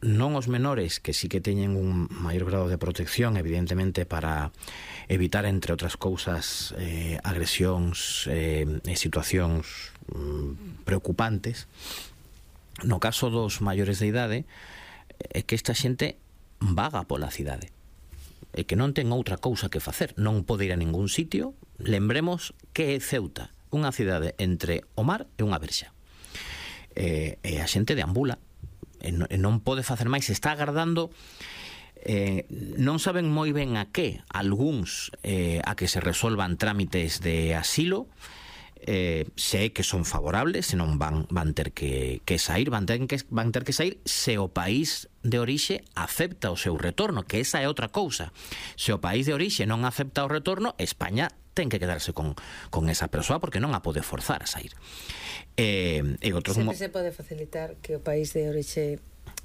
non os menores, que sí que teñen un maior grado de protección, evidentemente, para evitar, entre outras cousas, agresións e situacións preocupantes. No caso dos maiores de idade, é que esta xente vaga pola cidade, e que non ten outra cousa que facer, non pode ir a ningún sitio. Lembremos que é Ceuta, unha cidade entre o mar e unha verxa, e a xente deambula e non pode facer máis, está agardando, non saben moi ben a que, algúns a que se resolvan trámites de asilo, se que son favorables, senón van ter que sair, van ter que sair se o país de orixe acepta o seu retorno, que esa é outra cousa. Se o país de orixe non acepta o retorno, España ten que quedarse con esa persoa, porque non a pode forzar a sair. Sempre se pode facilitar que o país de orixe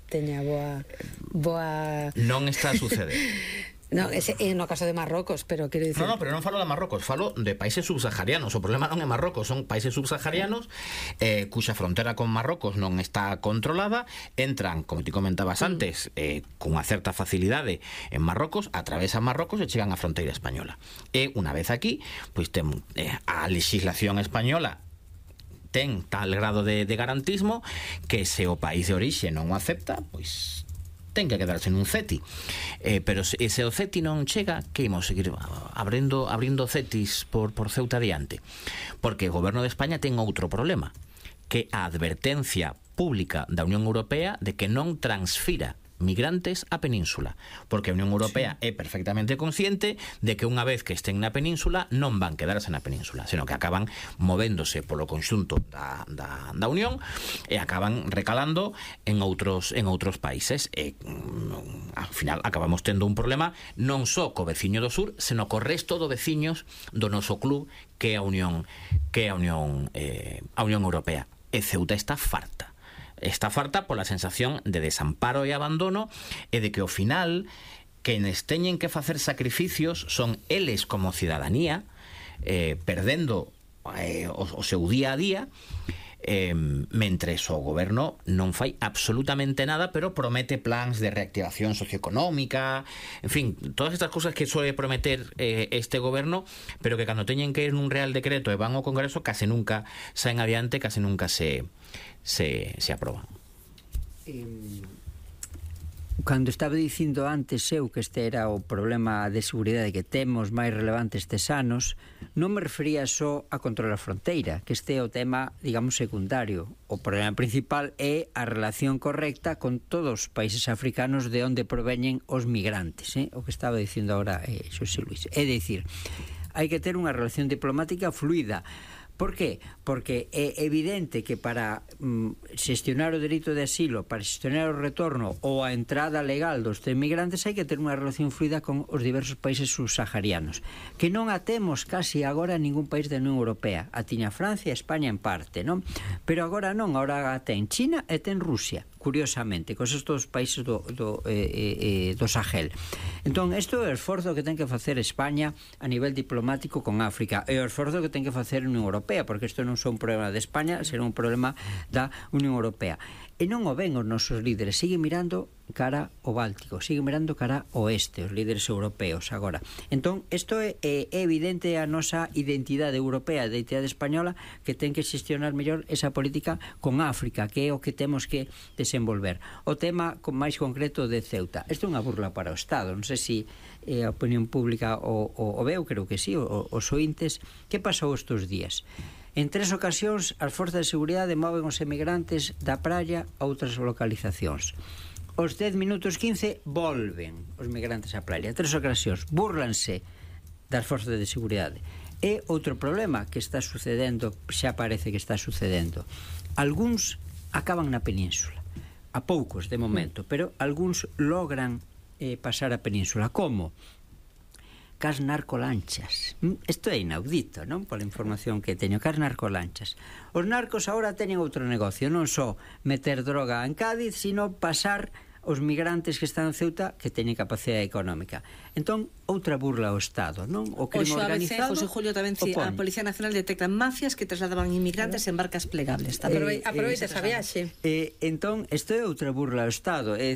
teña boa... Non está a suceder. No, no caso de Marrocos, pero quero dicir... No, pero non falo de Marrocos, falo de países subsaharianos. O problema non é Marrocos, son países subsaharianos cuxa frontera con Marrocos non está controlada, entran, como ti comentabas antes, cunha certa facilidade en Marrocos, atravesan Marrocos e chegan á fronteira española. E unha vez aquí, pois ten a legislación española ten tal grado de garantismo que se o país de orixe non o acepta, pois ten que quedarse nun CETI. Pero se o CETI non chega, que imos seguir abrindo CETIs por Ceuta adiante? Porque o goberno de España ten outro problema, que a advertencia pública da Unión Europea de que non transfira migrantes á península, porque a Unión Europea é perfectamente consciente de que unha vez que estén na península non van quedarse na península, senón que acaban movéndose polo conxunto da Unión e acaban recalando en outros países, e ao final acabamos tendo un problema non só co veciño do sur, senón co resto do veciños do noso club, que é a Unión Europea. E Ceuta está farta pola sensación de desamparo e abandono, e de que ao final quenes teñen que facer sacrificios son eles como cidadanía, perdendo o seu día a día, mentres o goberno non fai absolutamente nada, pero promete plans de reactivación socioeconómica, en fin, todas estas cousas que suele prometer este goberno, pero que cando teñen que ir nun real decreto e van ao Congreso case nunca saen adiante, case nunca se aproban. Cando estaba dicindo antes eu que este era o problema de seguridade que temos máis relevante estes anos, non me refería só a controlar a fronteira, que este é o tema, digamos, secundario. O problema principal é a relación correcta con todos os países africanos de onde proveñen os migrantes, o que estaba dicindo agora Xosé Luis. É dicir, hai que ter unha relación diplomática fluida. Por qué? Porque é evidente que para xestionar o dereito de asilo, para xestionar o retorno ou a entrada legal dos migrantes, hai que ter unha relación fluida con os diversos países subsaharianos, que non a temos casi agora en ningún país da Unión Europea. A tiña Francia e España en parte, non? Pero agora non, agora ten China e ten Rusia, curiosamente, con estes países do Sahel. Entón, isto é o esforzo que ten que facer España a nivel diplomático con África, e o esforzo que ten que facer a Unión Europea, porque isto non é un problema de España, será un problema da Unión Europea. E non o ven os nosos líderes, siguen mirando cara ao Báltico, siguen mirando cara ao oeste, os líderes europeos agora. Entón, isto é evidente a nosa identidade europea, a identidade española, que ten que xestionar mellor esa política con África, que é o que temos que desenvolver. O tema máis concreto de Ceuta, isto é unha burla para o Estado, non sei se a opinión pública o veu, creo que sí, os ointes. Que pasou estes días? En 3 ocasións, as forzas de seguridade moven os emigrantes da praia a outras localizacións. Os 10 minutos 15 volven os migrantes á praia. 3 ocasións. Búrlanse das forzas de seguridade. E outro problema que está sucedendo, xa parece que está sucedendo. Algúns acaban na península. A poucos, de momento. Pero algúns logran pasar a península. Como? Cas narcolanchas. Isto é inaudito, non? Pola información que teño, cas narcolanchas. Os narcos agora teñen outro negocio, non só meter droga en Cádiz, sino pasar os migrantes que están en Ceuta, que teñen capacidade económica. Entón, outra burla ao Estado, non? O crime organizado. José Julio tamén a Policía Nacional detectan mafias que trasladaban inmigrantes en barcas plegables. Aproveita esa viaxe. Entón, isto é outra burla ao Estado, é